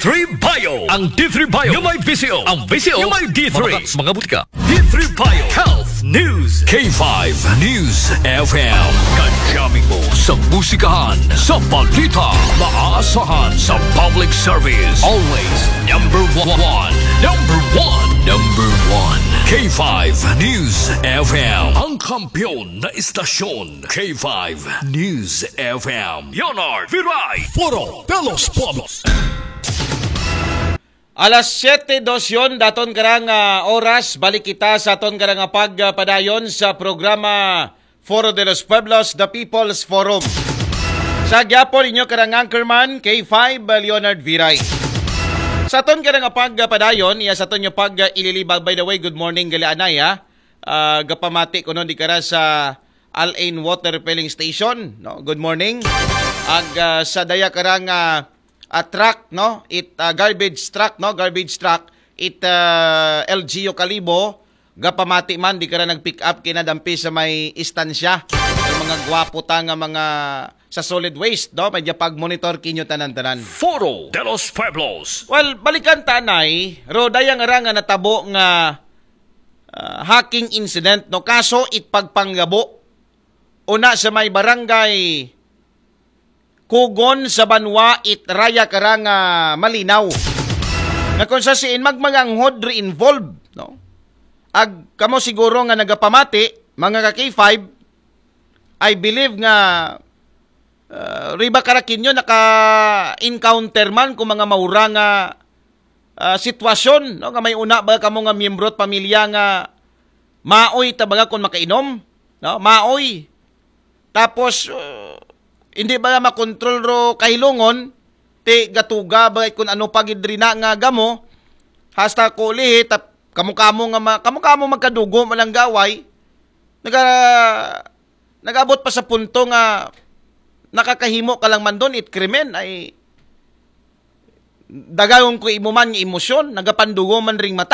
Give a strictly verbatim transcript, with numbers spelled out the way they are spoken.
three Bio. Ang D three Bio yung may V C O. Ang V C O yung may D three. Mga, mga butika. D three Bio Health News. K five News F M. Kajaming mo sa musikahan, sa balita, maasahan sa public service. Always number one. Number one. Number one. K five News F M. Ang kampiyon na istasyon. K five News F M. Leonard Viray. Foro de los Pueblos. Alas siyete dos yon, daton karang ah, oras, balik kita sa aton karang ah, pagpadayon sa programa Foro de los Pueblos, The People's Forum. Sa gyapon inyo karang anchorman, K five Leonard Viray. Sa aton karang ah, pagpadayon, iya sa aton nyo pag ah, ililibag. By the way, good morning, gali anay, ha? Ah, gapamati ko no di kara sa Al Ain Water Refilling Station, no? Good morning. Ag ah, sa daya karang ah, ah, truck, no? It ah, garbage truck, no? Garbage truck. It ah, L G U Kalibo, gapamati man di kara nag-pick up kinadampi sa may istansya. Yung mga gwapo ta nga mga sa solid waste, no? Medyo pag-monitor kinyo tanan-tanan. Foro de los Pueblos. Well, balikan tanay, ro dayang ara nga natabo nga ah, hacking incident, no? Kaso it pagpanggabo. Una sa may barangay Kugon sa Banwa, it raya karang ah, Malinaw. Na kung sa siin magmaganghod re involved, no? Ag kamo siguro nga nagapamati, mga ka K five, I believe nga ah, riba karakinyo naka-encounter man kung mga maura nga ah, sitwasyon, no? Nga may una ba kamo nga miyembro at pamilya nga maoy ta baga kung makainom, no? Maoy. Tapos uh, hindi ba makontrol ro kahilungon, ti gatuga ba kung ano pa gid rina nga gamo, hasta ko lihi, tap, kamo-kamo nga ma, kamo-kamo magkadugo malanggaway, naga nagabot pa sa punto nga nakakahimo ka lang man doon, it krimen ay dagayon ko imo man nga emosyon, nagapandugo man ring mata.